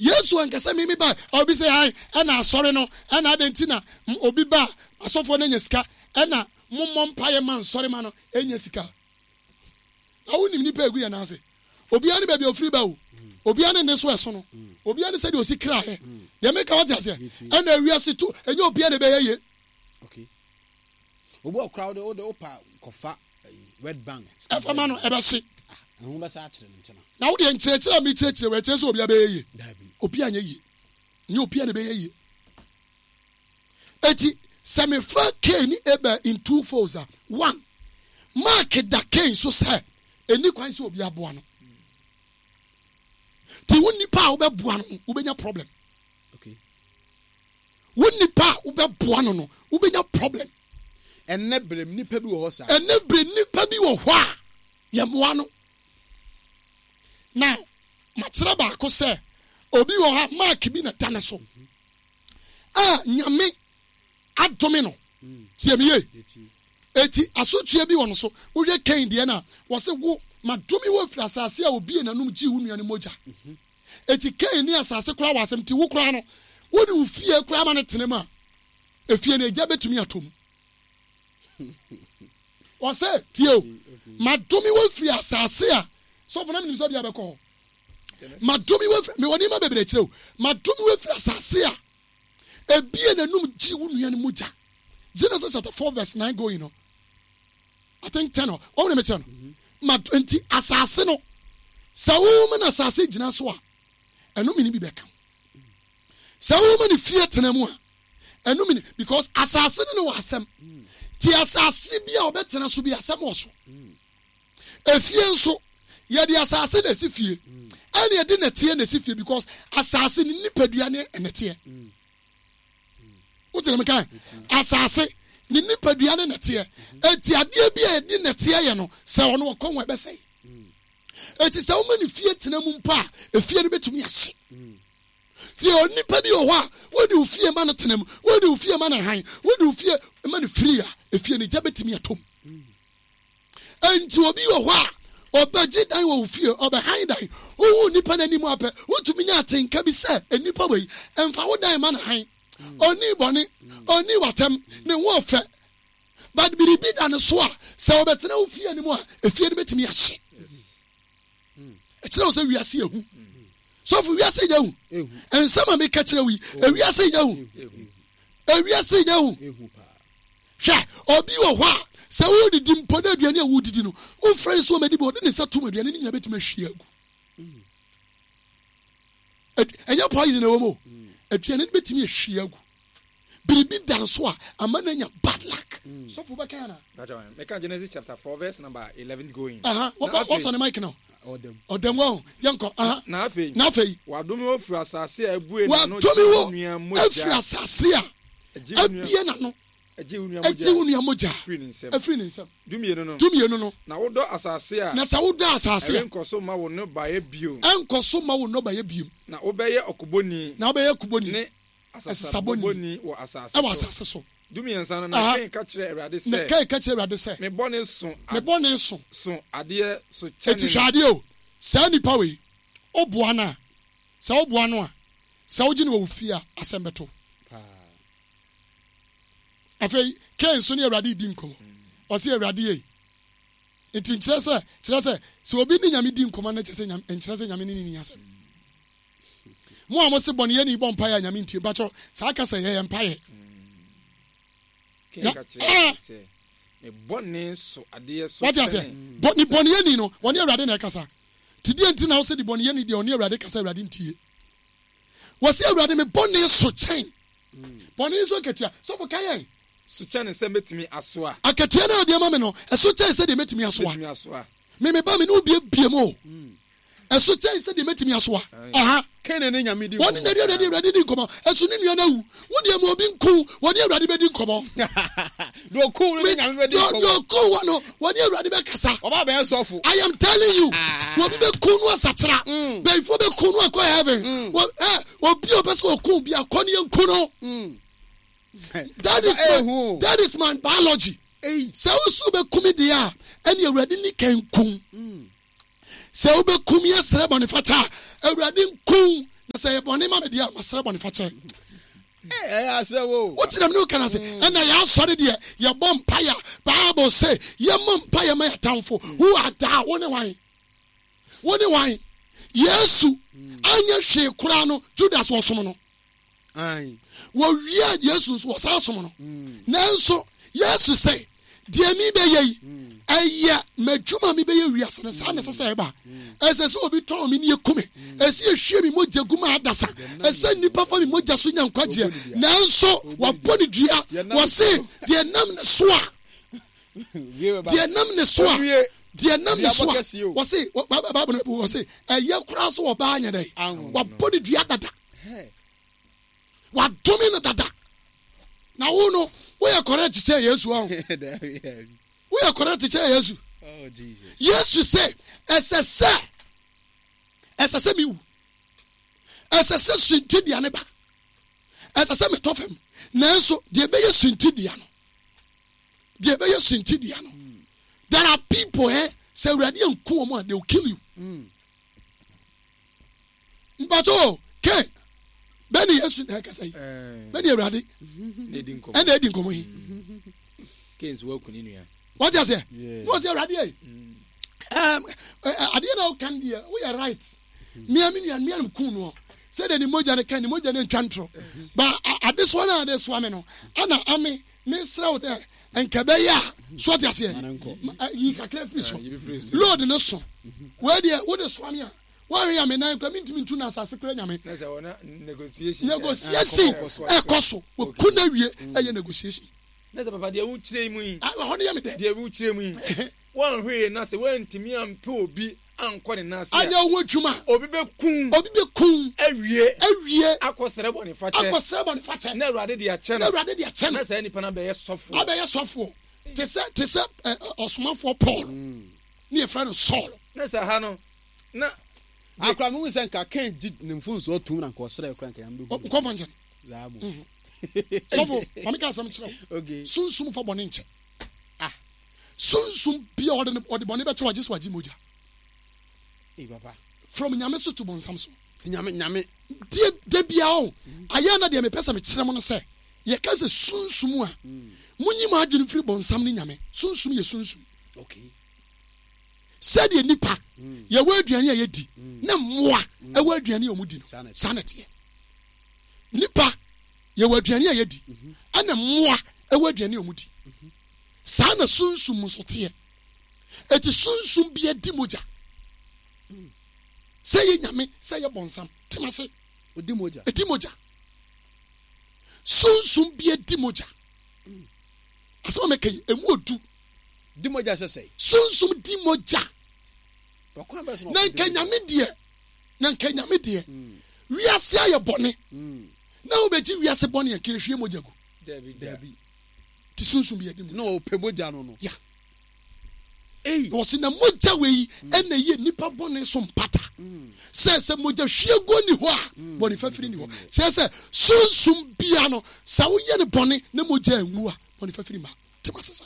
Yesu anka sɛ mimi ba obi sɛ han ɛna asɔre no ɛna adɛn nti na obi ba asɔfoɔ no anya sika ɛna mommɔ mpaeɛ ma nsɔre ma no ɛnya sika. Na wonim nipa egu yɛn nan ase. Obiara ne baabi a ofiri ba o. Obiara ne ne so ɛso no. Obiara ne sɛdeɛ osi kra yɛ. Deɛ meka wate aseɛ. Ɛna ewiase to ɛnyɛ obiara na ɛbɛyɛ yie. Okay. Obi wɔ koraa wode wode wopa kɔfa Red Bank. Ɛfa ma no ɛbɛhye. Ah, ɛho bɛsa akyerɛ no nkyɛn. Na wodeɛ nkyerɛkyerɛ a mekyerɛkyerɛ wɔ ɛkyerɛ sɛ obiara bɛyɛ yie. Obiara nyɛ yie. Nyɛ obiara na ɛbɛyɛ yie. Eti sɛ mefa Cain ne Abel in two folds a, one, mark da Cain so sɛ ɛni kwan sɛ obi aboa no. Ti wo nipa a wobɛboa no wobɛnya problem. Okay. Wo nipa a wobɛboa no no wobɛnya problem. Ɛnɛ berɛ nipa bi wɔ hɔ saa. Ɛnɛ berɛ nipa bi wɔ hɔ a yɛmmoa no. Now, makyerɛ baako sɛ obi wɔ hɔ a mark bi na da ne so. A Nyame adome no. Tie me yie. Eti asotweɛ bi wɔ no so. Wohwɛ Cain deɛ no a, wɔse wo, madome wo afiri asase a obie n'anom gyee wo nua no mogya. Eti Cain ne asase koraa wɔ asɛm, nti wo koraa no, wode wo fie koraa ma no tena mu a, efie no egya bɛtumi atɔ mu. Wɔse, tie o, madome wo afiri asase a, sɔfo na menim sɛ ɔde abɛkɔ hɔ. Madome wo afiri, mewɔ nneɛma bebree kyerɛ o, madome wo afiri asase a ebie n'anum gye wo nua no mogya. Genesis chapter 4 verse 9 going no. I think 10 or wɔn na mekyerɛ no. Ma nti asase no sɛ woma no asase gyina so a ɛno mene bi bɛka. Sɛ woma no fie tena mu a ɛno mene because asase no ne wɔ asɛm. Ti asase bi a ɔbɛtena so bi asɛm wɔ so. Efie nso, yɛde asase na esi fie. Ɛna yɛde nɛteɛ na esi fie because asase ne nipadua ne nɛteɛ. Wote na meka asase ne nipadua ne nɛteɛ. Eti adeɛ bi a yɛde nɛteɛ yɛ no, sɛ ɔno ɔkɔ ho ɛbɛsɛe. Eti sɛ woma ne fie tena mu mpo a, efie no betumi ahye. Tie onipa bi wɔ hɔ a, wode wo fie ma no tena mu, wode wo fie ma no hann, wode wo fie ma no firi a, efie no gya betumi atɔ mu. Enti obi wɔ hɔ a, ɔbɛgye dan wɔ wo fie, ɔbɛhan dan. Wohu nipa no anim apɛ, wotumi nya atenka bi sɛ nnipa wei, mfa wo dan ma no han. Ɔnni bɔne, ɔnni w'atɛm, ne ho ɔfɛ. But biribi da ne so a, sɛ ɔbɛtena wo fie no mu a, efie no bɛtumi ahye. Ɛkyerɛ wo sɛ wiase yɛ hu. Sɔfo, wiase nyɛ hu. Nsɛm a meka kyerɛ wo yi, ewiase nyɛ hu. Ewiase nyɛ hu. Hwɛ, obi wɔ hɔ a, sɛ woredidi mpo na aduane a woredidi no, wofrɛ no sɛ ɔmmɛdi bi, ɔde ne nsa tom aduane no nyinaa bɛtumi ahwie agu. Ɛnyɛ poison ɛwɔ mu o. Aduane no bɛtumi ahwie agu. Biribi da no so a, ama no anya bad luck. Sɔfo wobɛka ana? Meka Genesis chapter 4 verse number 11 going. Wɔsɔ ne mic no. Ɔdɛm wɔ yɛnkɔ. Na afei. Na afei. Wadome wo afiri asase a ebue n'ano gye wo nua mogya. Afiri asase a abue n'ano gye wo nua mogya firi ne nsam. Afiri ne nsam. Dumienu no. Dumienu no. Na wodɔ asase a. Na sɛ wodɔ asase a. Ɛrenkɔ so mma wo nnɔbaeɛ bio. Ɛrenkɔ so mma wo nnɔbaeɛ bio. Na wobɛyɛ ɔkobɔni. Na wobɛyɛ ɔkobɔni. Ne asesabɔni wɔ asase so. Wɔ asase so. Dumiɛnsa no, na Kain ka kyerɛɛ Awurade sɛ. Na Kain ka kyerɛɛ Awurade sɛ. Me bɔne so. Me bɔne so. So adeɛ so kyɛne. Eti hwɛ adeɛ o, saa nipa wei, woboa no a, sɛ woboa no a, sɛ wogye no wɔ wo fie a, asɛm bɛto wo. Afei, Kain nso ne Awurade redi nkɔmmɔ. Ɔse, Awurade ei. Nti nkyerɛ sɛ, kyerɛ sɛ, sɛ obi ne Nyame di nkɔmmɔ no kyerɛ sɛ Nyame, nkyerɛ sɛ Nyame ne ne ni asɛm. Mo a mo se bɔneyɛni bɔ mpaeɛ a Nyame ntie, mpakyɛw, saa kasa yi ɛyɛ mpaeɛ? Kain ka kyerɛɛ Awurade sɛ, Me bɔne so adeɛ so Wate aseɛ? kyɛne Bɔ, ne bɔneyɛni no, ɔne Awurade na ɛkasa. Nti deɛ nti na wose de bɔneyɛni deɛ ɔne Awurade kasa Awurade ntie? Wɔse Awurade me bɔne so kyɛn bɔne so akatua. Sɔfo ka yɛn. So kyɛne sɛ mɛtumi asoa. Akatua no a ɔde ama me no, ɛso kyɛn sɛdeɛ mɛtumi asoa. Mɛtumi asoa. Me me ba me ne wo biebie mu o. Ɛso kyɛn sɛdeɛ mɛtumi asoa. Aha. Kain ne Nyame di nkɔmmɔ. Wɔne Awurade Awurade Awurade di nkɔmmɔ. Ɛso ne nua no awu. Wo deɛ ma obi nku wo, wɔne Awurade bɛdi nkɔmmɔ. Deɛ ɔku wo no ne Nyame bɛdi nkɔmmɔ. Deɛ ɔku wo no, wɔne Awurade bɛkasa. Ɔba bɛyɛ sɔfo. I am telling you, obi bɛku no asakyera. Bɛyifoɔ bɛku no akɔ heaven. Obi a ɔpɛ sɛ ɔku bi akɔ ne yɛnku no. That is my, that is my biology. Sɛ wosu bɛku me deɛ a, ɛne Awurade ni kan kum. Sɛ wobɛkum yɛ srɛ bɔnefakyɛ a, Awurade nku. Na sɛ ɛyɛ bɔne ma me deɛ a, masrɛ bɔne fakyɛ. Ɛyɛ asɛm o. Wote na mene wo ka no ase. Ɛna yɛ asɔre deɛ yɛbɔ mpaeɛ a Bible se yɛmmɔ mpaeɛ ma yɛatamfo. Who art thou? Wo ne wan? Wo ne wan? Yesu anyɛ hwee koraa no Judas wɔsom no. Wɔwiaa Yesu nso wɔsan som no. Mm. Nanso Yesu sɛ deɛ mebɛyɛ yi mm. ɛyɛ m'adwuma mebɛyɛ wiase no saa na ɛsɛ sɛ ɛba. Mm. Ɛsɛ sɛ obi tɔn me ne ɛku me. Ɛsɛ yɛhwie me mogya gu ma adasa. Ɛsɛ nnipa fa me mogya so nya nkwagyeɛ. Nanso wɔabɔ ne dua. Wɔse deɛ nam ne so a deɛ nam ne so a deɛ nam ne so a wɔse Bible no wɔse ɛyɛ koraa so ɔbaa nyɛ dɛ wɔabɔ ne dua dada. Wadome no dada. Na wo no, woyɛ correct kyɛn Yesu ɔho. Woyɛ correct kyɛn Yesu. Oh, Yesu sɛ, ɛsɛ sɛ, ɛsɛ sɛ mewu. Ɛsɛ sɛ suntidua ne ba. Ɛsɛ sɛ metɔ fam. Nanso, deɛ ɛbɛyɛ suntidua no, deɛ ɛbɛyɛ suntidua no, there are people eh, sɛ Awurade anku wɔn a, they will kill you. Mm. Mpatsɔ o, ke bɛ ne Yesu na ɛkasa yi, bɛ ne Awurade ɛna edi nkɔmɔ yi. Wate aseɛ? Na ɔsɛ Awurade yɛ adeɛ na ɔka no deɛ woyɛ right. Mia me nua mia no kun noɔ sɛdeɛ ne mogya no ka ne mogya no ntwa ntorɔ ba adesoa no a adesoa me no ana ame mesrɛ wo dɛ nka ɛbɛyɛ a so ate aseɛ yi kakra firi so load no so wei deɛ wode soa me a Woanhwɛ a me nan koraa mentumi ntu na asase koraa nya me. Negotiation ɛkɔ so. Wɔku no awie ɛyɛ negotiation. Na sɛ papa deɛ wokyerɛ mu yi. Ɛhɔ no yɛ me dɛ. Deɛ wokyerɛ mu yi. Woanhwɛ yie na sɛ woantumi ampɛ obi ankɔ ne nan ase a. Anyɛ wo ho adwuma. Obi bɛku. Obi bɛku. Awie. Awie. Akɔsrɛ bɔne fakyɛ. Akɔsrɛ bɔne fakyɛ. Na Awurade de akyɛ no. Na Awurade de akyɛ no. Na saa nipa no abɛyɛ sɔfoɔ. Abɛyɛ sɔfoɔ. Te sɛ te sɛ ɔsomafoɔ Paul. Ne yɛfrɛ no Saul. Na sɛ ha no na. Akora mi hu sɛ nka Cain gye ne mfomsoɔ tom na nka ɔsrɛ kora nka yɛn bɛhu. Nkɔmfa nkyɛn. Zaa mu. Mhm. Sɔfo, maame ka asɛm kyerɛ wo. Okay. Sunsum fa bɔne nkyɛ. Ah. Sunsum bia ɔde ɔde bɔne bɛkyɛ wagye so wagye mogya. Ee papa. From nyame so to bɔnsam so. Nyame nyame. Die da bia o. Ayɛ na deɛ mepɛ sɛ mekyerɛ mo no sɛ yɛka sɛ sunsum a munyi mo adwene mfiri bɔnsam ne nyame. Sunsum yɛ sunsum. Okay. Sɛdeɛ nnipa yɛwɔ aduane a yɛdi ne mmoa ɛwɔ aduane a wɔdi no, saa na ɛteɛ. Nnipa yɛwɔ aduane a yɛdi ɛna mmoa ɛwɔ aduane a wɔdi. Saa na sunsum nso teɛ. Eti sunsum bi adi mogya. Sɛ yɛ nyame, sɛ yɛ bɔnsam, tema se. Odi mogya. Edi mogya. Sunsum bi adi mogya. Asɛm a mɛka yi, emu odu. Di mogya sɛ sɛe. Sunsum di mogya. Na nka nyame deɛ, na nka nyame deɛ, mm. wiase ayɛ bɔne. Mm. Na wobɛgye wiase bɔne a nka ehwie mogya gu. Dabi. Ti sunsum bi adi mogya. Na ɔpɛ mogya no no. Ya. Ei. Na wɔsi na mogya wei mm. ɛna ɛyɛ nipa bɔne so mpata. Sɛ sɛ mogya hwie guo ni hɔ a, bɔne fafiri ni hɔ. Kyerɛ sɛ sunsum bia no, sɛ woyɛ ne bɔne na mogya angu a, bɔne fafiri ma. Tema sesa.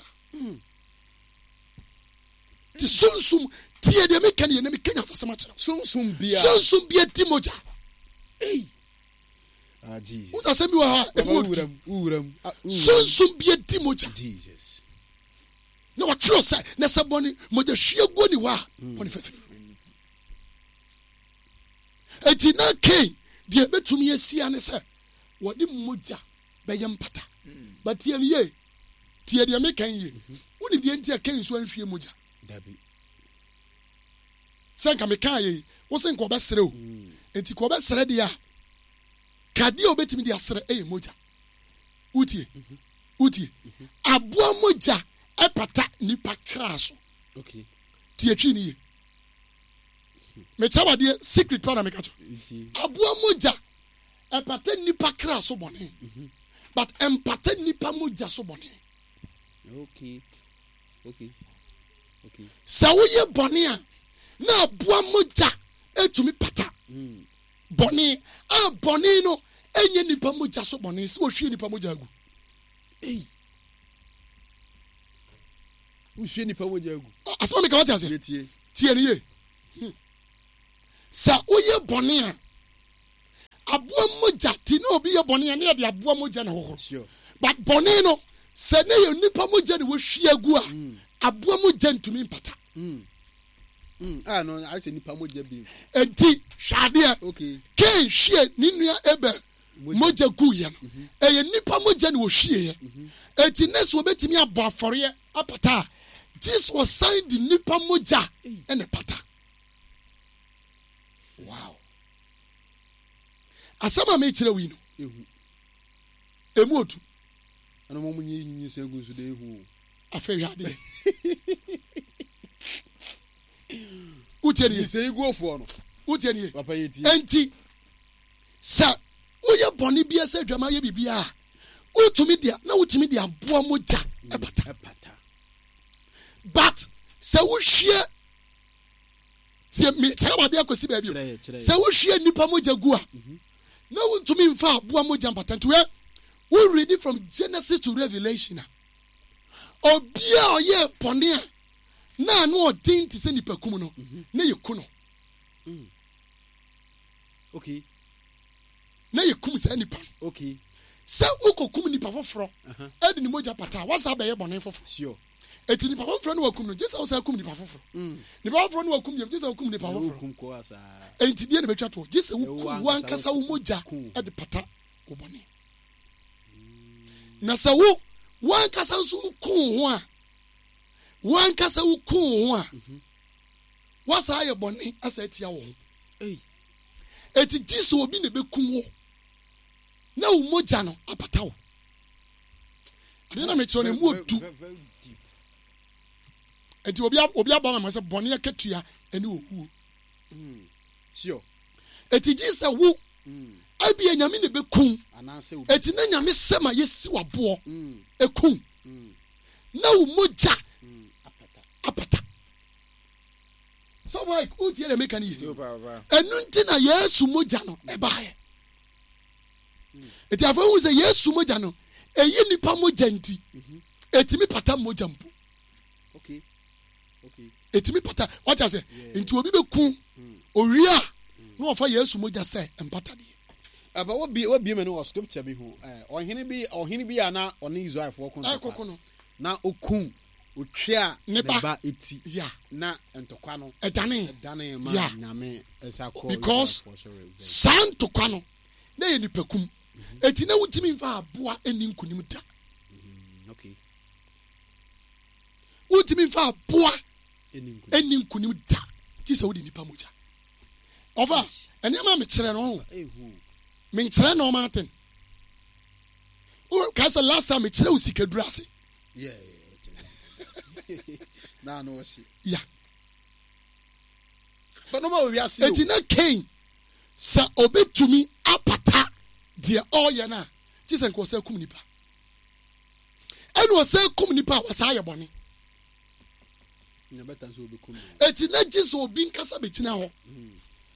Ti sunsum tie deɛ meka ne yɛ na meka nyansasɛm akyerɛ sunsum bia sunsum bia di mogya. Ei. Ah, Jesus. Wo sasɛm bi wɔ ha ɛmu odu. Ah, sunsum bia di mogya. Jesus. Na wɔkyerɛ sɛ na sɛ bɔne mogya hwie guo ni hɔ a hmm. bɔne fafiri. Eti na Cain deɛ ebetumi asia ne sɛ wɔde mogya bɛyɛ mpata. Hmm. But tie me yie. Tie deɛ meka yi yie. Wonim deɛ nti a Kain nso anhwie mogya? Dabi. Sɛ nka mekaa yei, wo se nka ɔbɛsrɛ o. Mm. Nti ka ɔbɛsrɛ deɛ a, ka deɛ a ɔbɛtumi de asrɛ ɛyɛ mogya. Wotie? Mhm. Wotie? Mhm. Aboa mogya ɛpata nipa kra so. Okay. Tie twi ne yie. Mekyɛ wadeɛ secret pa na meka kyɛ. Aboa mogya Ɛpata nnipa kra so bɔne but ɛmpata nnipa mogya so bɔne. Okay. Okay. Okay. Sɛ woyɛ bɔne a na aboa mogya etumi pata hmm. bɔne a bɔne no ɛnyɛ nnipa mogya so bɔne sɛ wɔhwie nnipa mogya agu. Ei. Wohwie nnipa mogya agu. Asɛm a meka wate aseɛ. Tie no yie. Hmm. Sɛ woyɛ bɔne a. Aboa mogya ti na obi yɛ bɔne a ne yɛde aboa mogya na hohoro. But bɔne no sɛ ne yɛ nipa mogya na wɔhwie agu a mm. aboa mogya ntumi mpata. Mm. Mm. Ah, no, ayɛ sɛ nipa mogya bi. Enti hwɛ adeɛ. Okay. Cain hwie ne nua Abel mogya guiɛ no mhm. ɛyɛ nipa mogya na wɔhwieɛ. Mhm. Enti ne sɛ wɔbɛtumi abɔ afɔreɛ apata a Jesus ɔsan de nipa mogya ɛna pata. Wow. Asɛm a mekyerɛ wo yi no, emu odu. Ɛna wɔn nyɛ nyinsɛn gu nso de ehu o. Afei hwɛ adeɛ. Wotie nie. Nyinsɛn guofoɔ no. Wotie nie. Papa yɛ tie. Enti sɛ woyɛ bɔne bi sɛ adwama yɛ biribi a wotumi de na wotumi de aboa mogya mm, ɛpata. Ɛpata. But sɛ wohwie tie me kyerɛ wade akɔsi baabi o sɛ wohwie nnipa mogya gu a mhm. na wontumi mfa aboa mogya mpata nti wɛ wo read from Genesis to Revelation a obi a ɔyɛ bɔne a na ano ɔden te sɛ nipa kum no mhm. na yɛ ku no mm. okay na yɛ kum saa nipa no okay sɛ wokɔkum nipa foforɔ ɛde ne mogya pata a wasa bɛyɛ bɔne foforɔ Eti nipa foforɔ no wakum no gye sɛ wosan kum nipa foforɔ. Mm. Nipa foforɔ no wakum yam gye sɛ wokum nipa foforɔ. Enti deɛ na bɛtwa toɔ gye sɛ wokum wankasa wo mogya de pata wo bɔne. Na sɛ wo wankasa nso woku wo ho a wankasa woku wo ho a mhm. wasa ayɛ bɔne asa atia wo ho. Eti gye sɛ obi na ɛbɛkum wo na wo mogya no apata wo. Adeɛ na mekyerɛ no emu odu. Nti obi obi abɔ ama sɛ bɔne akatua ɛne owuo. Hmm. Sure. Eti gye sɛ wo hmm. ebia nyame na ebekum. Eti na nyame sɛ ma yɛsi waboɔ hmm. ekum na wo mogya apata. So Mike, wotie deɛ meka no yie. Ɛno nti na Yesu mogya no ɛbaeɛ. Eti afei wohu sɛ Yesu mogya no, ɛyi nipa mogya nti, ɛtumi pata mogya mpo. Ɛtumi pata, wate ase? Nti obi bɛku hmm. owie a, na wɔfa Yesu mogya sɛ mpatadeɛ. Ɛbɛ wobie wobie mɛ no wɔ scripture bi ho. Ɔhene bi ɔhene bi a na ɔne Israelfoɔ ko ntɔkwa. Na okum otwea ne ba eti. Yeah. Na ntɔkwa no. Ɛdane. Ɛdane ma nyame ɛsa kɔ. Because saa ntɔkwa no na yɛ nipakum eti na wontumi nfa aboa ɛni nkunim da mm, wontumi nfa aboa ɛni nkunim da gye sɛ wode nipa mogya ɔfa nneɛma a mekyerɛ no menkyerɛ nneɛma aten kae sɛ last time mekyerɛ wo sikaduru ase ya eti na Cain Sɛ obetumi apata deɛ ɔreyɛ no a, gye sɛ nka ɔsan kum nipa. Ɛna ɔsan kum nipa a, wasan ayɛ bɔne. Eti na gye sɛ obi nkasa bɛgyina hɔ hmm.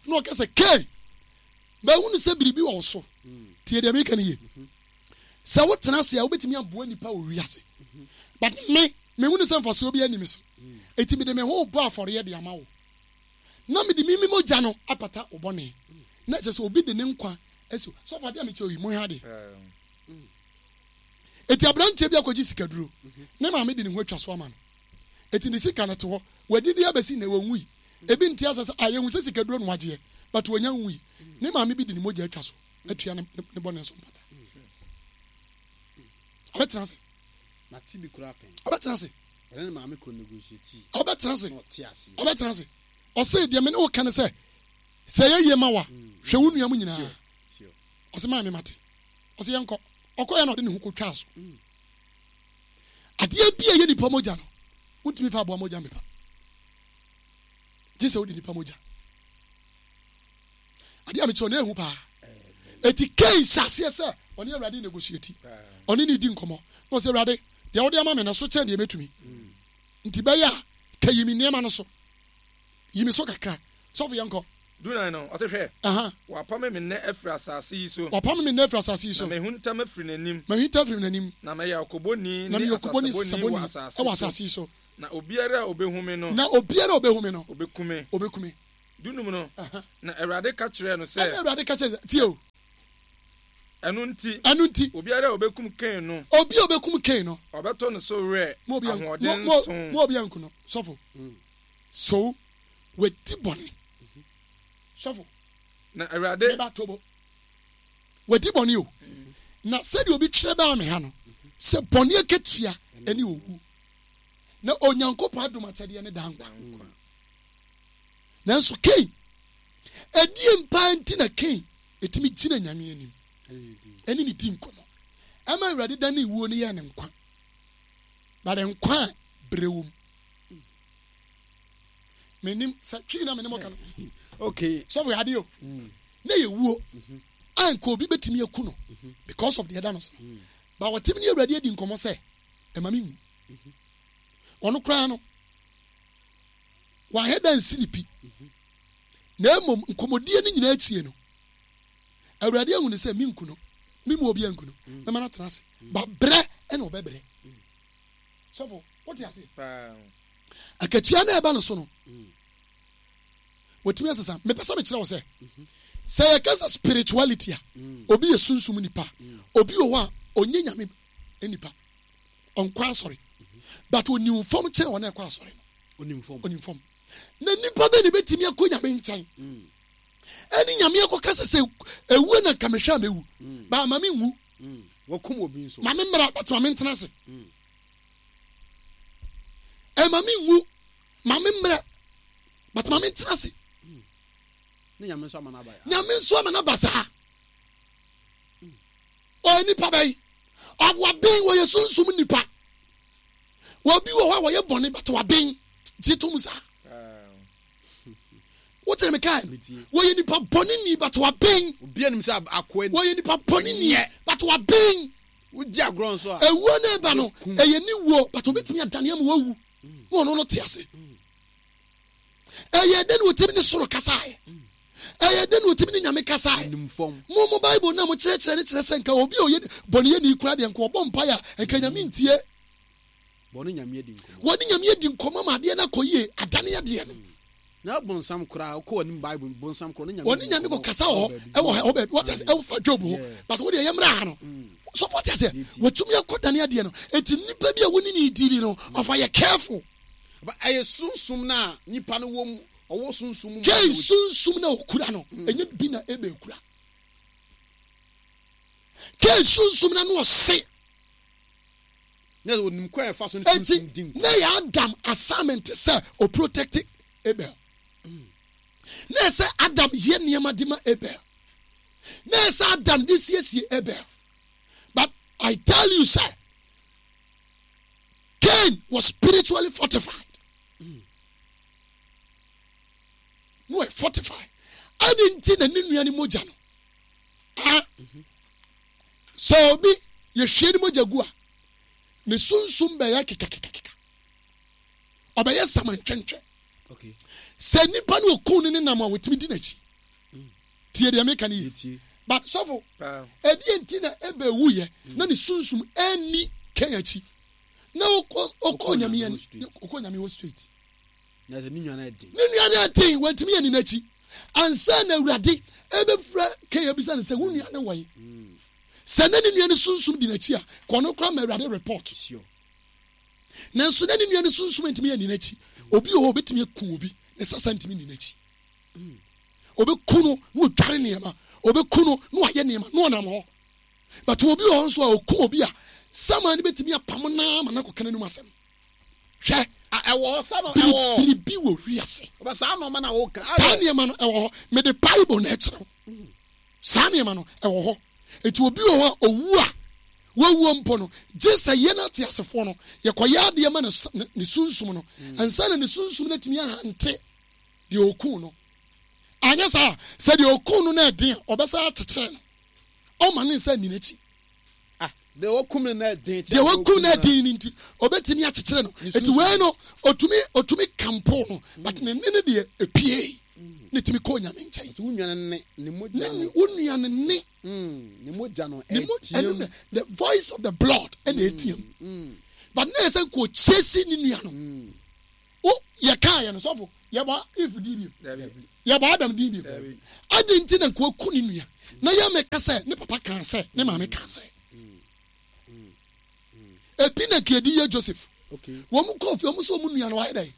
na ɔka sɛ Cain, mahunu sɛ biribi wɔ wo so. Hmm. Tie deɛ meka no yie. Hmm. Sɛ wotena ase a, wobɛtumi aboa nipa wɔ wiase. But me, mehunu sɛ mfasoɔ bi ani me so. Eti mede me ho bɔ afɔreɛ de ama wo. na mede me me mogya no apata wo bɔne. Na ɛkyɛ sɛ obi de ne nkwa asi sɔfo adeɛ a mekyɛ oyi monhwɛ adeɛ. Eti aberanteɛ bi akɔgye sikaduro ne maame de ne ho atwa so ama no. Eti ne sika no te hɔ wadidi abɛsi nnɛ wɔnwui. Ebi nte asɛ sɛ a yɛhu sɛ sikaduro no wagyeɛ but wɔnya nwui. Ne maame bi de ne mogya atwa so atua ne ne bɔne so mpata. Ɔbɛtena ase. Ɔbɛtena ase. Ɔne ne maame kɔ negotiate. Ɔbɛtena ase. Na ɔte aseɛ. Ɔbɛtena ase. Ɔse deɛ me ne wo ka ne sɛ, sɛ ɛyɛ yie ma wo a, hwɛ wo nua mu nyinaa. Ɔse maame mate. Ɔse yɛnkɔ. Ɔkɔeɛ na ɔde ne ho kɔtwaa so. Adeɛ bi a ɛyɛ nipa mogya no, wontumi fa aboa mogya mpepa. Gye sɛ wode nipa mogya. Adeɛ a mekyerɛ no ɛhu paa. Eti Cain hyɛ aseɛ sɛ ɔne Awurade negotiate. Ɔne ne di nkɔmmɔ. Na ɔsɛ Awurade, Deɛ wode ama me no, ɛso kyɛn deɛ mɛtumi. Nti bɛyɛ a, ka yi me nneɛma no so. Yi me so kakra. Sɔfo, yɛnkɔ. Dunan no, ɔse, Hwɛ, wɔapame me nnɛ afiri asase yi so. Wɔapame me nnɛ afiri asase yi so. Na mahunta mafiri n'anim. Mahunta afiri n'anim. Na mɛyɛ ɔkobɔni ne asasabɔni wɔ asase yi so. Na obiara a ɔbɛhu me no. Na obiara a ɔbɛhu me no. Ɔbɛku me. Ɔbɛku me. Dunum no, na Awurade ka kyerɛɛ no sɛ. Ɛna Awurade ka kyerɛɛ tie o. Ɛno nti. Ɛno nti. Obiara a ɔbɛkum Kain no. Obi a ɔbɛkum Kain no. Ɔbɛtɔ ne so werɛ ahoɔden so. Mo obi anku no, sɔfo. So wadi bɔne. Sɔfo. Na Awurade. Meba tobo. Wadi bɔne o. Na sɛdeɛ obi twerɛ baa me ha no, sɛ bɔne akatua ne owu. Na Onyankopɔn adom akyɛdeɛ ne daa nkwa. Nanso Kain, ɛdeɛn paa nti na Kain ɛtumi gyina Nyame anim ɛne ne di nkɔmmɔ ɛma Awurade da ne wuo no yɛɛ ne nkwa, but nkwa a berɛ wɔ mu. Menim sɛ twii na menem ɔka no. Okay. Sɔfo yɛ adeɛ o. Na yɛ wuo a nka obi bɛtumi aku no because of deɛ ɛda no so. But wɔtumi ne Awurade adi nkɔmmɔ sɛ ɛma me nwu. Ɔno koraa no wahɛ da nsi ne pi. Na mmom nkɔmmɔdie no nyinaa akyie no, Awurade ahu no sɛ menku no, memu obi anku no, mɛma no atena ase. Ba brɛ ɛna ɔbɛbrɛ. Sɔfo, wote ase? Akatua no a ɛba no so no, wɔtumi asesa. Mepɛ sɛ mekyerɛ wo sɛ, sɛ yɛka sɛ spirituality a, obi yɛ sunsum nipa, obi wɔ hɔ a ɔnyɛ nyame nipa. Ɔnkɔ asɔre but onim fam kyɛn wɔn a ɛkɔ asɔre no. Onim fam. Onim fam. Na nipa bɛ na ebetumi akɔ nyame nkyɛn. Ɛne nyame akɔ kasa sɛ ewuo na nka mehwɛ a mewu. Ba ama me nwu. Wɔkum obi nso. Ma me mmra but ma me ntena ase. Ɛma me nwu. Ma me mmra but ma me ntena ase. Ne nyame nso ama n'aba. Nyame nso ama n'aba saa. Ɔyɛ nipa bɛyi. Waben, wɔyɛ sunsum nipa. Obi wɔ hɔ a wɔyɛ bɔne but waben. Gye tom saa. Wote me kae no? Wɔyɛ nipa bɔne ni but waben. Obi anim sɛ akoa ni. Wɔyɛ nipa bɔne ni but waben. Wodi agorɔ nso a. Ewuo na ɛba no, ɛyɛ ne wuo but obetumi adane ama wawu. Na ɔno no te ase. Ɛyɛ dɛ na otumi ne soro kasaeɛ. Ɛyɛ dɛ na otumi ne Nyame kasaeɛ. Mo mo Bible no a mo kyerɛkyerɛ no kyerɛ sɛ nka obi a ɔyɛ bɔneyɛni koraa deɛ nka ɔbɔ mpaeɛ a nka Nyame ntie. Wɔne Nyame adi nkɔmmɔ. Wɔne Nyame adi nkɔmmɔ ma adeɛ no akɔ yie, adane adeɛ no. Na bonsam koraa wokɔ anim Bible bonsam koraa ɔne Nyame Wɔne Nyame kɔ kasa wɔ hɔ ɛwɔ hɔ baabi wɔte ase ɛwɔ fa Job ho but wo deɛ yɛmmra ha no sɔfo ɔte aseɛ wɔtumi akɔ dane adeɛ no eti nipa bi a wɔne ne dili no ɔfa yɛ careful. But ɛyɛ sunsum no a nipa no wɔ mu, ɔwɔ sunsum mu. Kain sunsum na okura no, mm. ɛnyɛ bi na Abel kura. Kain sunsum na no ɔse. Na onim kwan ɛfa so ne sunsum di nkɔmɔ. Na yɛ Adam assignment sɛ o protect Abel. Mm. Na ɛsɛ Adam yɛ nneɛma de ma Abel. Na ɛsɛ Adam de siesie Abel. But I tell you sir, Cain was spiritually fortified. No, wɔyɛ fortified. Adi nti na ne nua ne mogya no. Ah, sɛ obi yɛhwie ne mogya gu a, ne sunsum bɛyɛ kekakekakeka. Ɔbɛyɛ samantwɛntwɛ. Sɛ nipa no okun ne ne nam a wɔtumi di n'akyi. Tie deɛ meka no yie. But sɔfo, ɛdeɛ nti na Abel wuyɛ na ne sunsum ɛnni Cain akyi na ɔkɔ nyame ɔkɔ nyame hɔ straight. Ne nua no ɛden. Ne nua no ɛden wɔntumi ɛni n'akyi. Ansa na awurade ɛbɛfrɛ Cain abisa no sɛ wo nua no wɔ yi. Sɛ na ne nua no sunsum di n'akyi a, kɔ no kora ma awurade report. Sure. Nanso na ne nua no sunsum ntumi ɛni n'akyi. Obi wɔ hɔ obetumi aku obi ne sasa ntumi nni n'akyi. Obeku no na odware nneɛma, obeku no na wayɛ nneɛma na ɔnam hɔ. But obi wɔ hɔ nso a oku obi a saman no betumi apam no ara ma no akɔka n'anum asɛm. Hwɛ, ɛwɔ hɔ sa no ɛwɔ hɔ. Biribi wɔ wiase. Ɔbɛ saa nneɛma na wɔka. Saa nneɛma no ɛwɔ hɔ. Mede Bible na ɛkyerɛ wo. Saa nneɛma no ɛwɔ hɔ. Eti obi wɔ hɔ a owu a wawuo mpo no, gye sɛ yɛn ateasefoɔ no yɛkɔyɛ adeɛ ma ne sunsum no ansa na ne sunsum no atumi ahante deɛ ɔkuu no. Anyɛ saa a, sɛ deɛ ɔkuu no no ɛden a, ɔbɛsan akyekyere no. Ɔmma ne nsa nni n'akyi. Ah, deɛ ɔkum no na ɛden. Deɛ ɔkum no ɛden no nti, ɔbɛtumi akyekyere no. Eti wei no, ɔtumi ɔtumi kampo no, but ne nne no deɛ epie. Ne tumi kɔ Onyame nkyɛn. Wo nua no nne, ne mogya no. Wo nua no nne. Ne mogya no ɛteam. The voice of the blood ɛna ɛteam. But na yɛ sɛ nka ɔkyesi ne nua no. Wo yɛ kaa yɛ no sɔfo. Yɛbɔ Eve din bio. Yɛbɔ Adam din bio. Adi nti na nkoa ku ne nua. Na yɛ meka sɛ ne papa kaa sɛ ne maame kaa sɛ. Ebi na nka yɛde yɛ Joseph. Wɔn kɔɔ fie wɔn sɛ wɔn nua no wayɛ dɛ.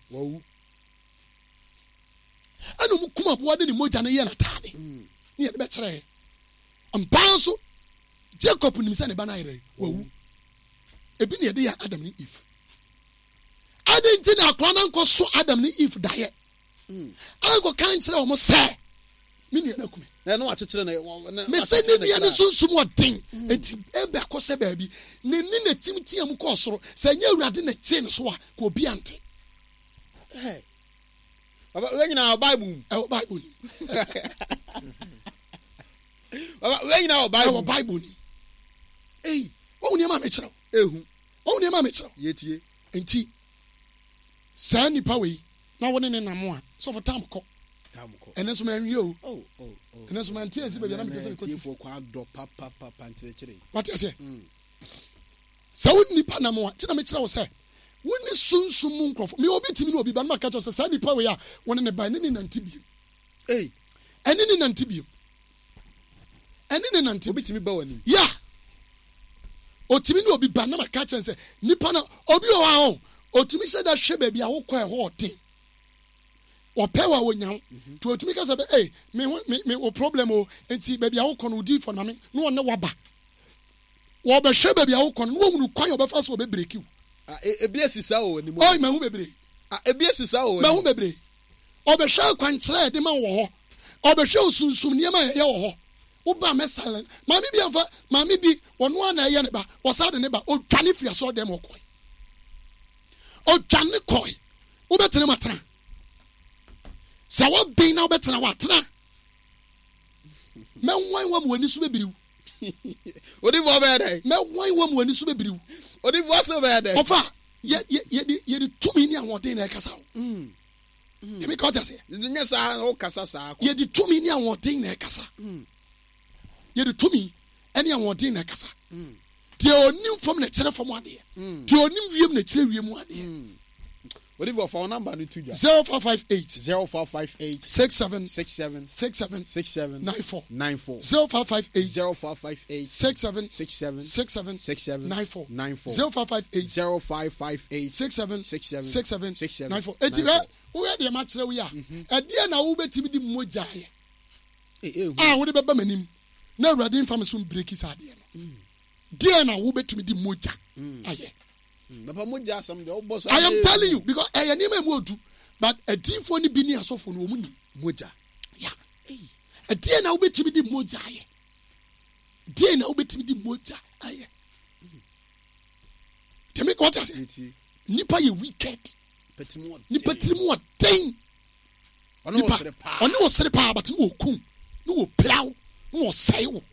Ɛna wɔn kum aboa de ne mogya no yɛ n'ataade. Mm. Ne yɛde bɛkyerɛ yɛ. Mpaa nso Jacob nim sɛ ne ba no ayɛ dɛ wawu. Ebi na yɛde yɛ Adam ne Eve. Adɛn nti na akora no ankɔ so Adam ne Eve daeɛ ankɔka nkyerɛ wɔn sɛ me nua no akume? Na wakyekyere no. Mese ne nua no sunsum ɔden mm. enti Abel kɔ sɛ baabi ne ne na tim tea mu kɔɔ soro sɛ ɛnyɛ Awurade na kyee ne so a ka obi ante. Baba wei nyinaa wɔ Bible mu. Ɛwɔ Bible ni. Baba wei nyinaa wɔ Bible. Ɛwɔ Bible ni. Ei, wɔn nneɛma a mekyerɛw. Ehu. Wɔn nneɛma a mekyerɛw. Yɛtie. Nti saa nipa wei na wo ne ne nam a sɔfo tam kɔ. Tam kɔ. Ɛnɛ nso manwie o. Oh, oh, oh. Ɛnɛ nso mante ansi baabi a na mepɛ sɛ mekɔ ti. Tiefoɔ kɔ adɔ papapapa nkyerɛkyerɛ. Wate aseɛ? Mm. Sɛ wo nipa nam a, nti na mekyerɛ wo sɛ wo ne sunsum mu nkurɔfo. Me obi tumi ne obi ba no maka kyerɛ sɛ saa nipa wei a wo ne ne ba ne ne nante biem. Ei. Ɛne ne nante biem. Ɛne ne nante. Obi tumi ba w'anim. Ya. Otumi ne obi ba na maka kyerɛ sɛ nipa na obi wɔ hɔ a ɔ otumi hyɛ da hwɛ baabi a wokɔ ɛhɔ ɔden. Ɔpɛ wa onya wo. Mhm. Nti otumi ka sɛ bɛ ee me ho me me wo problem o nti baabi a wokɔ no odi fɔ na me na ɔne waba. Wɔbɛhwɛ baabi a wokɔ no na wɔhunu kwan a wɔbɛfa so wɔbɛbreki wo. Ah, e, ebi esi saa wɔ anim. Ɔyi mahu bebree. Ah, ebi esi saa wɔ anim. Mahu bebree. Ɔbɛhwɛ akwankyerɛ a yɛde ma wɔ hɔ. Ɔbɛhwɛ osunsum nneɛma a yɛyɛ wɔ hɔ. Woba mɛ silent. Maame bi amfa maame bi ɔno ara na ɛyɛ ne ba. Wɔsan de ne ba. Odwane firi asɔre dɛm ɔkɔe. Odwane kɔe. Wobɛtena mu atena. Sɛ wɔben na wobɛtena hɔ atena. Mɛnwan wa mu w'ani so bɛbiriw. Odifoɔ bɛyɛ dɛn? Mɛwan wa mu w'ani so bɛbiriw. Odifoɔ so bɛyɛ dɛn? Ɔfa yɛ yɛ yɛde yɛde tumi ne ahoɔden na ɛkasa o. Mm. Mm. Ebi ka ɔte aseɛ. Nyɛ saa ɔkasa saa. Yɛde tumi ne ahoɔden na ɛkasa. Mm. Yɛde tumi ne ahoɔden na ɛkasa. Mm. Deɛ onim fam na ɛkyerɛ fam adeɛ. Mm. Deɛ onim wiem na ɛkyerɛ wiem adeɛ. Mm. Odifoɔ fa wo number no to dwa. 0558. 0558. 67. 67. 67. 67. 94. 94. 0558. 0558. 67. 67. 67. 67. 94. 94. 0558. 0558. 67. 67. 67. 67. 94. Eti hwɛ woyɛ deɛ makyerɛ wo yi a ɛdeɛ na wobɛtumi de mogya ayɛ a wode bɛba m'anim na awurade mfa me so mbreki saa adeɛ no deɛ na wobɛtumi de mogya ayɛ. Papa mogya asɛm deɛ wobɔ so. I am telling you because ɛyɛ nneɛma emu odu but adiifoɔ no bi ne asɔfoɔ no wɔn nim. Mogya. Ya. Ɛdeɛ na wobɛtumi de mogya ayɛ. Deɛ na wobɛtumi de mogya ayɛ. Deɛ mi kɔ ɔte Nipa yɛ wicked. Nipa tiri mu ɔden. Nipa ɔne wɔ sere paa but ne wɔ kum ne wɔ piraw ne wɔ sɛe wo.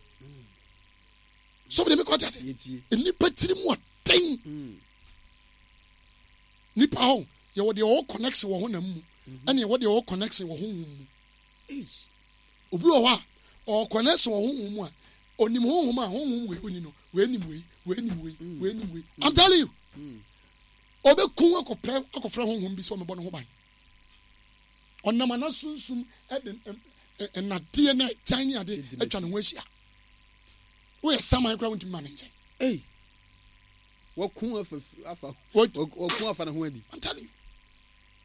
So deɛ mi kɔ ɔte ase. Nipa tiri mu ɔden. Mm. Nipa hɔ yɛwɔ deɛ ɔwɔ connection wɔ honam mu mhm. ɛna yɛwɔ deɛ ɔwɔ connection wɔ honhom mu. Obi wɔ hɔ a ɔwɔ connection wɔ honhom mu a onim honhom a honhom wei oni no wei nim wei wei nim wei mm. wei nim wei. Mm. I'm telling you. Mm. Ɔbɛku akɔpɛ akɔfrɛ honhom bi sɛ ɔmɛbɔ ne ho ban. Ɔnam ana sunsum ɛde nnadeɛ na agyan ne ade atwa ne ho ahyia. Woyɛ saman koraa wontumi ma ne nkyɛn. Waku afa afa waku afa ne ho adi. I'm telling you.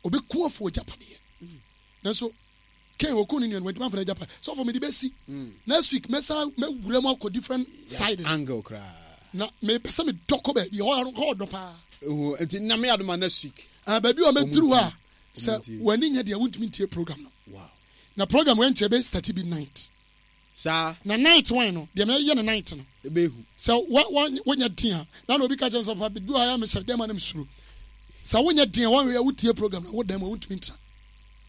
Obi ku afa ogyapadeɛ. Mm. Nanso Ken oku ne nua no wantumi amfa n'agyapadeɛ. Sɔfo mede bɛsi. Mm. Next week mɛsan mɛwura mu akɔ different side. Angle koraa. Na mepɛ sɛ medɔ kɔ baabi hɔ hɔ ɔdɔ paa. Ehu nti na me adoma next week. Ah baabi a mɛduru hɔ a sɛ w'ani nyɛ deɛ wontumi ntie program no. Wow. Na program wɛnkyɛ bɛ start bi night. Saa. Na night wan no, deɛ mɛyɛ no night no. Ɛbɛhu. Sɛ wa wa wonyɛ den a, na na obi ka kyerɛ me sɛ papa bi wɔ ha a mehyɛ dɛm a na mesuro. Sɛ wonyɛ den a wɔnhwɛ a wotie program na wo dan mu a wontumi ntra.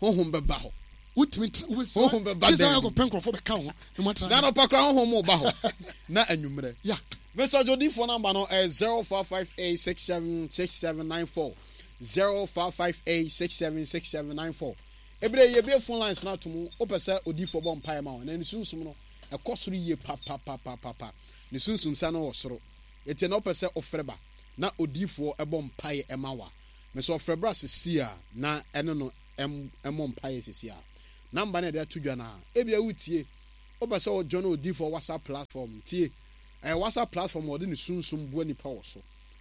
Honhom bɛba hɔ. Wontumi ntra. Wobɛsuro. Honhom bɛba dan mu. Gye sɛ akɔpɛ nkurɔfoɔ bɛka ho na moatena. Na anɔpa koraa honhom ba hɔ. Na anwummerɛ. Yeah. Mr. Jodifoɔ number no ɛyɛ 0558676794 0558676794. Ebere yi yɛbue phone lines no ato mu, wopɛ sɛ odiyifoɔ bɔ mpaeɛ ma wo, na ne sunsum no ɛkɔ soro yie papapapapa. Ne sunsum sa no wɔ soro. Enti na wopɛ sɛ wofrɛ ba na odiyifoɔ bɔ mpaeɛ ma wo a, mesɛ ɔfrɛ bra sesie a na ɛne no. mmɔ mpaeɛ sisi a. Number no a yɛde ato dwa no a, ebia wotie, wopɛ sɛ wo join odiyifoɔ WhatsApp platform, tie, ɛyɛ WhatsApp platform a wɔde ne sunsum boa nipa wɔ so.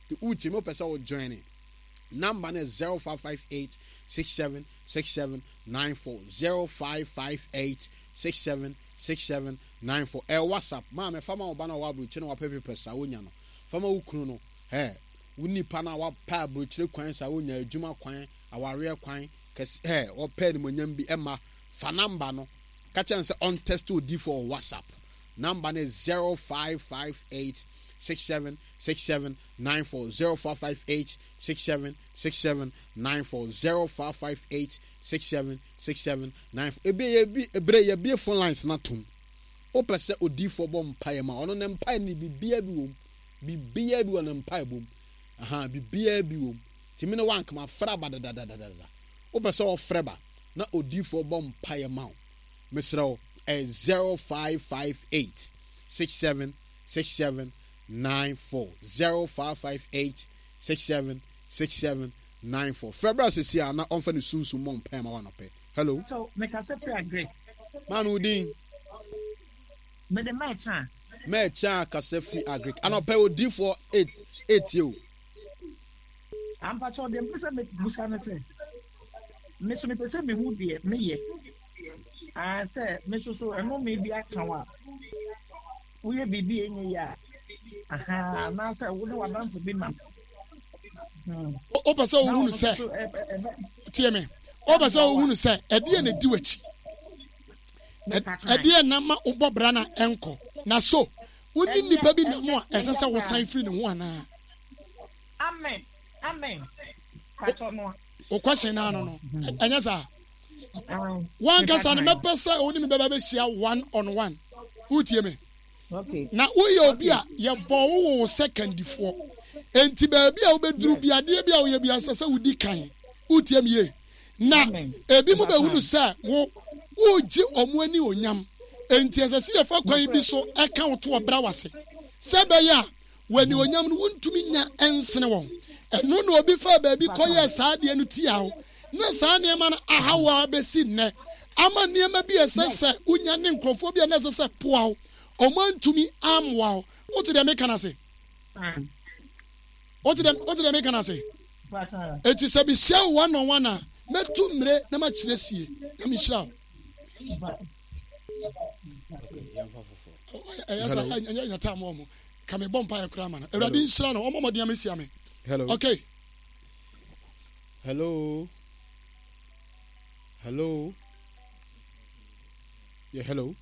Nti wotie me, wopɛ sɛ wo join, number no yɛ 0558 67 67 94, 0558 67 67 94. Ɛyɛ WhatsApp. Maame, fa ma wo ba no a ɔwɔ aburokyire na wapɛ papers a wonya no. Fa ma wo kunu no. Hɛ, wo nipa no a wapɛ aburokyire kwan saa wonya adwuma kwan, awareɛ kwan, kɛse, hɛ, ɔpɛ animonyam bi ɛma. Fa number no. Ka kyerɛ no sɛ ɔntɛste odiyifoɔ wɔ WhatsApp. Number no yɛ 0558 67 67 94, 0558 67 67 94, 0558 67 67 94. Ebi ebi ebere yɛbie phone lines no atom. Wopɛ sɛ odiyifoɔ bɔ mpaeɛ ma ɔno ne mpaeɛ no biribiara bi wom. Biribiara bi wɔ ne mpaebɔ mu. Aha, biribiara bi wom. Tumi ne wankama frɛ aba dadadadada. Wopɛ sɛ ɔfrɛ ba na odiyifoɔ bɔ mpaeɛ ma wo. Mesrɛ wo, ɛyɛ 0558 67 67 94 0558 67 67 94. Frɛ bra sɛsi a na ɔmfa ne sunsum mmɔ mpaeɛ ma wo anɔpɛ. Hello. So, mekasa firi Agric. Maame wo din? Mede Mɛkya. Mɛkya kasa firi Agric. Anɔpɛ odiyifoɔ etie o. Ampakyɛw deɛ mpɛ sɛ mebusa ne sɛ, me so mepɛ sɛ mehu deɛ meyɛ. Ah, sɛ me so so ɛnome bi aka wo a, woyɛ biribi a ɛnyɛ yie a, aha, anaasɛ wo ne w'adamfo bi nam. Hmm. Wopɛ sɛ wohunu sɛ, tie me, wopɛ sɛ wohunu sɛ ɛdeɛ na ɛdi w'akyi. Ɛdeɛ na ma wobɔ bra na ɛnkɔ. Na so, wo ne nnipa bi nam a ɛsɛ sɛ wosan firi ne ho anaa? Amen. Amen. Patɔ no. O question na ano no. Ɛnyɛ saa. Wankasa no mɛpɛ sɛ wo ne me bɛba bɛhyia one on one. Wotie me? Na woyɛ obi a yɛbɔ wo wo sɛ kandifoɔ. Enti baabi a wobɛduru bi adeɛ bi a woyɛ bi ɛsɛ sɛ wodi kan. Wotie me yie? Na ebi mu bɛhunu sɛ wo wogye ɔmo ani onyam. Enti ɛsɛ sɛ yɛfa kwan bi so ɛka wo to ɔbra wase. Sɛ ɛbɛyɛ a W'anuonyam no, wontumi nnya nsene wɔn. Ɛno na obi faa baabi kɔyɛɛ saa adeɛ no tiaa wo, na saa nneɛma no aha wo ara bɛsi nnɛ, ama nneɛma bi a ɛsɛ sɛ wonya ne nkurɔfoɔ bi a na ɛsɛ sɛ poa wo, wɔn antumi ammoa wo. Wote deɛ meka no ase? Wote deɛ wote deɛ meka no ase? Eti sɛ mehyia wo one on one a, mɛtu mmire na makyerɛ sie. Nyame nhyira wo. Ɛyɛ sɛ ɛnyɛ nyɛ taa mo ɔmo. Ka me bɔ mpaeɛ koraa ma no. Awurade nhyira no. Ɔmmɔ mmɔden amehyia me. Hello. Okay. Hello. Hello. Yeah, hello.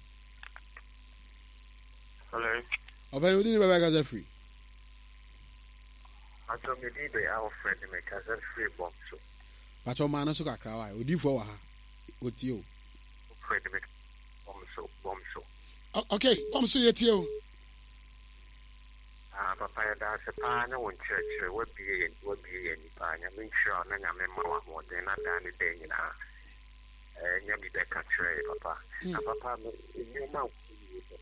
Hello. Ɔbɛn odi ni bɛbɛ kasa firi. Pastor me din de Alfred me kasa firi bɔm so. Pastor ɔmaa no so kakra wa odiifoɔ wɔ ha otie o. Alfred me bɔm so bɔm so. Okay bɔm so yɛ tie o. Ah papa yɛda ase paa ne wo nkyerɛkyerɛ wabue yɛn wabue yɛn ani paa nyame nhyira wo na nyame mma wo ahoɔden na daa ne daa nyinaa eh, nya bi bɛka kyerɛ yɛ papa mm. na papa me nneɛma a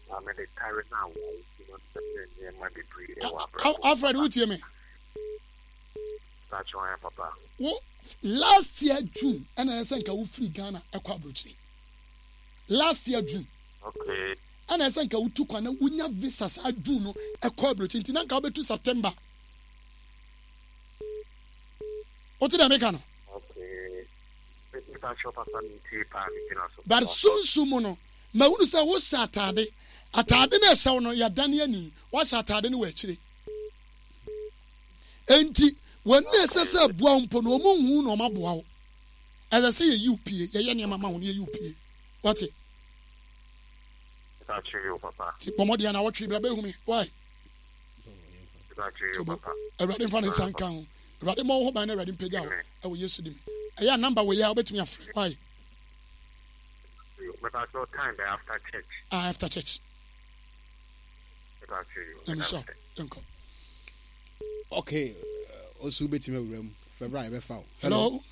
papa mede tare no awae nti no sɛ nneɛma bebree ɛwɔ abrabɔ Alfred wotie me papa wo last year June ɛna ɛsɛ nka wofiri Ghana ɛkɔ aburokyire last year June okay ɛna ɛsɛ nka wotu kwan na wonya visa saa June no ɛkɔ aburokyi nti na nka wobɛtu September wote deɛ meka no but sunsun mu no mahunu sɛ wohyɛ ataade ataade no ɛhyɛ wo no yɛdane ani woahyɛ ataade no wɔ akyire enti wɔn na ɛsɛ sɛ ɛboa wo mpo no wɔn nhu na wɔn aboa wo ɛsɛ sɛ yɛyi wo pie yɛyɛ nneɛma ma wo na yɛyi wo pie wate Ti bɔ mmɔden na wɔtwe bra bɛhu me. Why? Tobo. Awurade mfa ne nsa nka ho. Awurade mmɔ wo ho ban na Awurade mpagya wo ɛwɔ Yesu dim. Ɛyɛ a number wɔ yi a wobɛtumi afrɛ. Why? Ah, after church. Na mehyɛ wo. Nkɔ. Okay, osu bɛtumi awura mu. Frɛ bra yɛbɛfa wo. Hello.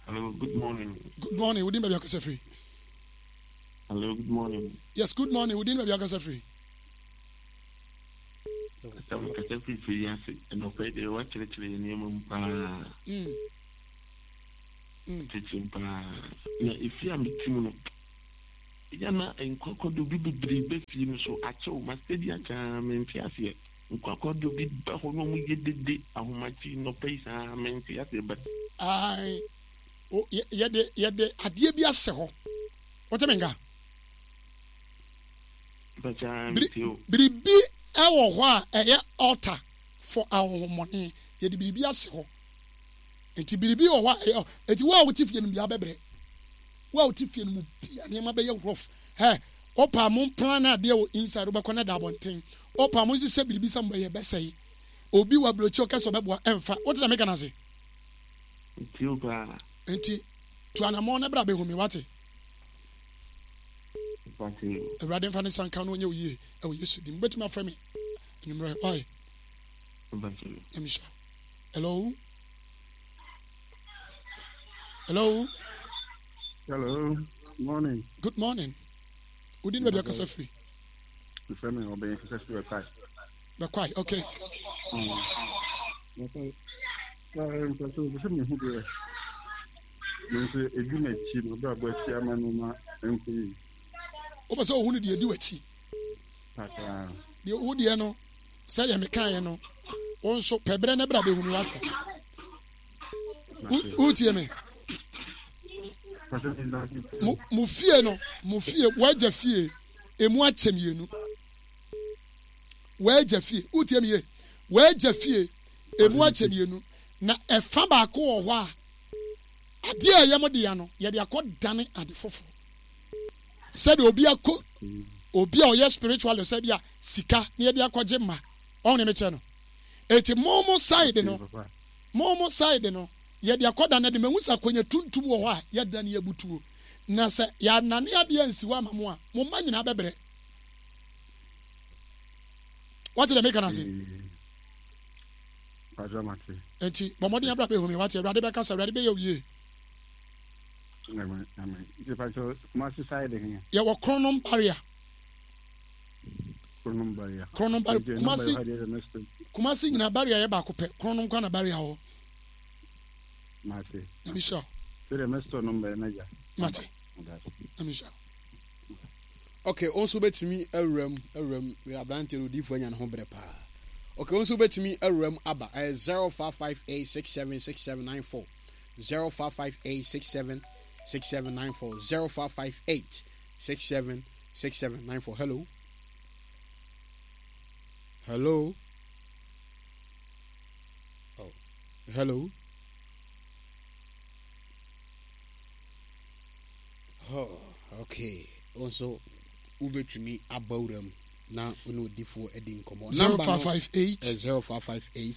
Hello, good morning. Good morning. Wodin baabi akasa firi? Hello, good morning. Yes, good morning. Wodin baabi akasa firi? Kasa mi kasa firi firi ase. Ɛnɔpɛ deɛ wakyerɛkyerɛ yɛ nneɛma mu paa. Akyekye me paa. Na efie a mete mu no, eya na nkwakwado bi bebree ba fie no so. Akyɛ o, masɛdi akyɛ aa, mente aseɛ. Nkwakwado bi ba hɔ na wɔyɛ dede ahomakye nnɔpa yi saa, mente aseɛ but. Ae, o, yɛde, yɛde adeɛ bi ahyɛ hɔ. Wote me nka? Biribi wɔ hɔ a ɛyɛ altar for ahonhommɔne. Yɛde biribi ahyɛ hɔ. Nti biribi wɔ hɔ a ɛyɛ nti wo a wote fie no mu bia bɛbrɛ. Wo a wote fie no mu bia nneɛma bɛyɛ rough. Hɛ, opa mo plan adeɛ wɔ inside wobɛkɔ na da abɔnten. Opa mo nhyehyɛ biribi sɛ mobɛyɛ bɛsɛe. Obi wɔ aburokyi ɔka sɛ ɔbɛboa ɛmfa. Wote na meka no ase? Nti tu anamɔn na bra bɛhu me wate. Awurade mfa ne nsa nka no ɔnyɛ wo yie ɛwɔ Yesu din. Wobɛtumi afrɛ me anwummerɛ. Why? Nyame hyira. Hello? Hello? Hello. Morning. Good morning. Wodi ne baabi akasa firi? Mfrɛ me ɔbɛn kasa firi Bɛkwae. Bɛkwae, okay. Mpɛ sɛ sɛ mehu deɛ me nso ɛdi m'akyi m'abrabɔ akyi ama nneɛma nkɔ yie. Wopɛ sɛ wohu no deɛ ɛdi w'akyi? Deɛ wo deɛ no sɛdeɛ mekaeɛ no wo nso pɛ berɛ no bra bɛhu me wate. Wotie me? Mo fie no mo fie w'agya fie emu akyɛ mmienu. W'agya fie wotie me yie w'agya fie emu akyɛ mmienu na ɛfa baako wɔ hɔ a adeɛ a ɛyɛ mo dea no yɛde akɔ dane ade foforɔ sɛdeɛ obi akɔ obi a ɔyɛ spiritual sɛ bi a sika na yɛde akɔgye ma ɔho ne mekyɛ no eti mo mo side no mo mo side no yɛde akɔ dane ade mahu sɛ akɔnya tuntum wɔ hɔ a yɛdane abutuo na sɛ yɛanane adeɛ ansi hɔ ama mo a mo mma nyinaa bɛbrɛ wate deɛ meka no ase Enti bɔ mmɔden abra bɛhu me wate Awurade bɛkasa Awurade bɛyɛ wo yie. Yɛwɔ Kronom barrier. Kronom barrier. Kumasi Kumasi nyina barrier yɛ baako pɛ. Kronom kwa na barrier hɔ. Mate. Nyame hyira wo. Mate. Nyame hyira wo. Ok, wo nso wobɛtumi awura mu, awura mu. Wei aberanteɛ no odiyifoɔ anya ne ho berɛ paa. Ok, wo nso wobɛtumi awura mu aba. Ɛyɛ 0558676794. 0558676794. 0558676794. Hello. Hello. Oh. Hello. Oh, okay. Wo nso wobɛtumi aba wura mu na wo ne odifoɔ adi nkɔmmɔ. 0558 0558.